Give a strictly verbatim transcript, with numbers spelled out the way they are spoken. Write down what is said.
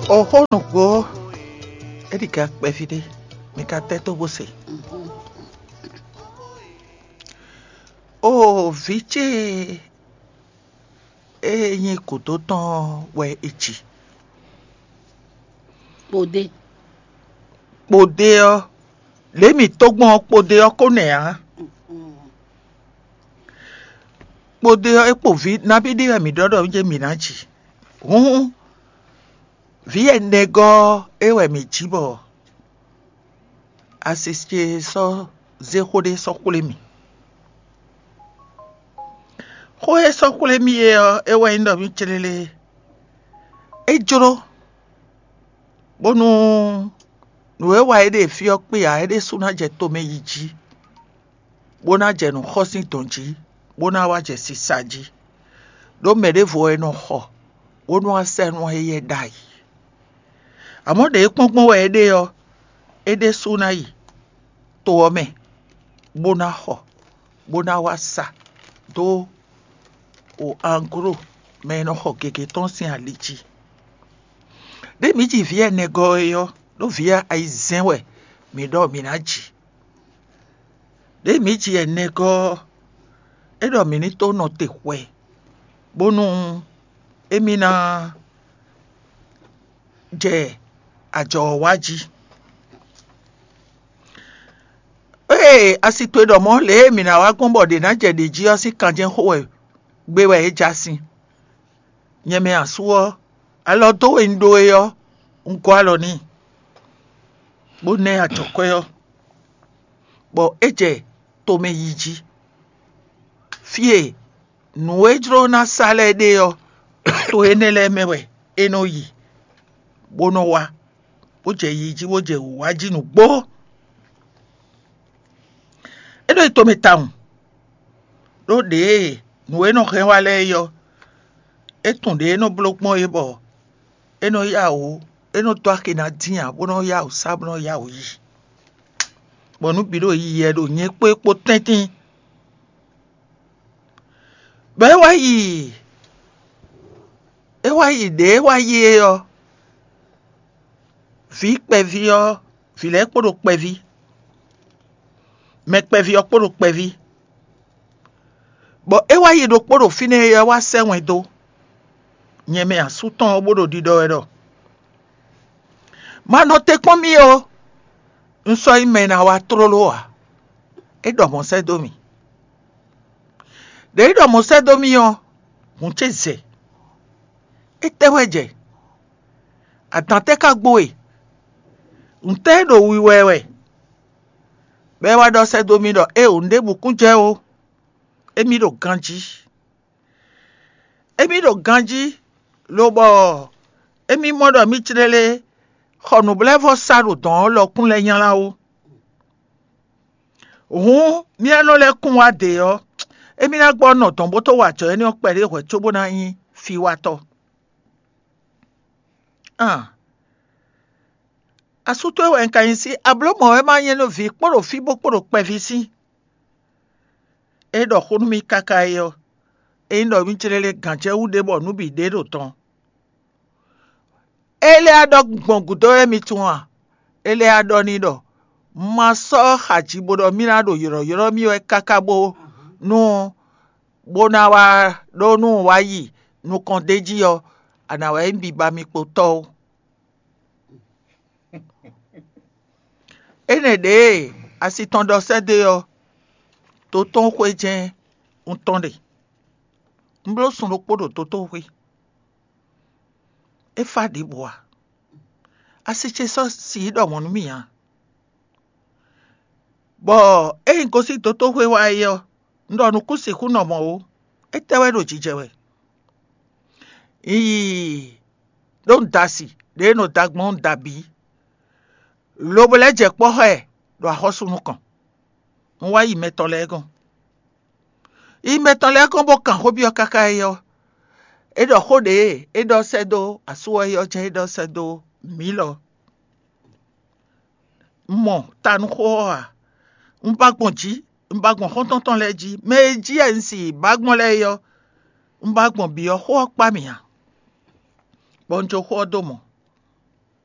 O xó nǔgbó, é ɖi ga kpɛví ɖé, mi ka tɛ́ tó bó se. O vǐ ce e nyí gǔdo tɔn wɛ è ji. Kpodé. Kpodé ɔ́, lě mǐ tó gbɔn ɔ́, kpodé ɔ́ ko nɛ̌ ǎ. Kpodé ɔ́, é kpo vǐ nabí ɖé wɛ mǐ ɖɔ ɖɔ jɛ mǐ ná ji. Hǔn vǐ ɛnɛgɔ́ ɔ́, é wɛ mǐ ji bɔ asi ce sɔ́ zé xó ɖé sɔ́ xwlé mì. Xó e sɔ́ xwlé mì é ɔ́, é wɛ nyí ɖɔ mì clélé. É jló bónú nǔ e wa é ɖe fí ɔ́ kpé ǎ, é ɖésú ná jɛ tomɛ yi jí, bó ná jɛ nǔ xɔ sín dɔ̌n jí, bó ná wá jɛ sisa jí. Ɖó mɛ ɖěvo wɛ è nɔ xɔ, bónú wá sɛ́ nú éyɛ́ ɖ'ayǐ. Amɔ̌ ɖě e kpɔ́n gbɔn wɛ é ɖe ɔ́, é ɖésú ná yi to ɔ́ mɛ, bó ná xɔ, bó ná wá sa dó o anglo mɛ e nɔ xɔ gěgé tɔn sín ali jí. Ɖé mǐ ji vǐ ɛnɛgɔ́ é ɔ́, ɖó vǐ ayizɛ́n wɛ mǐ ɖɔ mǐ ná ji. Ɖě mǐ ji ɛnɛgɔ́ ɔ́, é ɖɔ mǐ ní tó nɔ te hwɛ, bónú émí ná jɛ ajɔ ɔ́ wá jí. Ée asi towe ɖɔ mɔ̌ lě e mǐ ná wá gbɔn bɔ ɖě ná jɛ ɖě jí ɔ́ sín kanjɛ́n xo wɛ gbé wɛ é já sin. Nyɛ mɛ asú ɔ́, alɔ dó we un ɖó é ɔ́, un gɔ́ alɔ n'i, bó ná ɛ ajɔ̌kwɛ́ ɔ́, bɔ é jɛ tomɛ yi jí. Fí e nǔ e jló ná sa lɛ́ɛ ɖe ɔ́, to énɛ́ lɛ́ɛ mɛ wɛ é nɔ yi, bó nɔ wá, bó jɛ yi jí, bó jɛ wǔ wá jí nǔgbó. É nɔ yi tomɛ tawun, ɖó ɖěe nǔ e nɔ hɛn wá lɛ́ɛ é ɔ́, é tunwun ɖě é nɔ bló gbɔn é bɔ é nɔ yá wǔ, é nɔ dó axi ná dín ǎ, bó nɔ yá wǔ sá, bó nɔ yá wǔ yi, bɔ nǔ bǐ ɖo yiyi wɛ ɖo nyɛ kpó é kpó tɛ́ntin. Bɔ é wá yi, é wá yi ɖě é wá yi é ɔ́, vǐ kpɛví ɔ́, vǐ lɛ́ɛ kpo ɖo kpɛví, mɛ kpɛví ɔ́ kpo ɖo kpɛví, bɔ é wá yi ɖokpó ɖo fínɛ́ é ɔ́ wá sɛ́ wɛn dó nyɛ mɛ asú tɔn ɔ́, bó ɖo ɖiɖɔ wɛ ɖɔ: Ma nɔ te kpɔ́n mì ó, un sɔ́ nyí mɛ e ná wá tlóló ǎ. É ɖɔ mɔ̌ sɛ́ dó mì. Ɖě é ɖɔ mɔ̌ sɛ́ dó mì ɔ́, hǔn ce zɛ. Étɛ́ wɛ jɛ? Adǎn tɛ́ ka gbo e? Ntɛ́ é ɖo wiwa ɛ wɛ? Bɔ é wá ɖɔ sɛ́ dó mì ɖɔ: Éeǒ, nǔɖébǔ kún jɛ ó, émí ɖo ganjí. Émí ɖo ganjí, lobɔ émí mɔ ɖɔ mì clélé xɔ nǔblévɔ́sa ɖo dɔ̌n ɔ́ lɔkún lɛ́ɛ nylá ó. Hǔn mì e nɔ lɛ́ kún wá dě ɔ́, émí ná gbɔ nɔ dɔ̌n bó tó wa ajɔ énɛ́ ɔ́ kpɛɖé hwɛ̌ cóbó ná nyí fiwatɔ́. Asú towe wɛ un ka nyí sí, ablǒ mɔ̌ wɛ ma nyɛ nú vǐ kpó ɖo fí bó kpó ɖo kpɛví sín. É ɖɔ xó nú mì káká é ɔ́, é nyí ɖɔ mì clélé gǎn ce wú ɖé bɔ nǔ bǐ ɖe ɖo tɔn. É lɛ́ ɖɔ gbɔn gǔdo wɛ mi tunwun a? É lɛ́ ɖɔ n'i ɖɔ: Ma sɔ́ xaji bó ɖɔ mì ná ɖo ylɔ̌ylɔ́ mì wɛ káká bó nú bó ná wá ɖó nú wá yi nukɔn d'é jí ɔ́, a nǎ wá nyí biba mi kpo tɔ́ ó. Énɛ́ ɖě e asi tɔn ɖɔ sɛ́ dó e ɔ́, to tɔn xwé jɛ́n un tɔn ɖe. Un bló sun ɖokpó ɖo to tɔn xwé. É fá ɖěbǔ ǎ. Asi ce sɔ́ si yi ɖɔ mɔ̌ nú mì ǎ. Bɔ ényí gosín dotóxwé wá é ɔ́, un ɖɔ nǔkún sixú nɔ mɔ̌ ó. Étɛ́ wɛ ɖo jijɛ wɛ? Un yi ɖó un da asi ɖě e nɔ da gbɔn un da bǐ, lobo lɛ́ jɛ kpɔ́ xá ɛ ɖo axɔ́sú nukɔn. Un wá yi mɛ tɔn lɛ́ɛ gɔ́n. Yi mɛ tɔn lɛ́ɛ gɔ́n bó kan xó byɔ́ káká é ɔ́, é ɖɔ xó ɖě é ɖɔ sɛ́ dó asú ɔ́ é ɔ́ jɛ́n é ɖɔ sɛ́ dó mǐ lɔ. Un mɔ ta nú xó ɔ́ ǎ. Un ba gbɔn jǐ, un ba gbɔn xɔ́ntɔn tɔn lɛ́ɛ jí. Mɛ e jí wɛ un si ba gbɔn lɛ́ɛ é ɔ́, un ba gbɔn bǐ ɔ́, xó ɔ́ kpá mì ǎ. Bɔ un jó xó ɔ́ dó mɔ.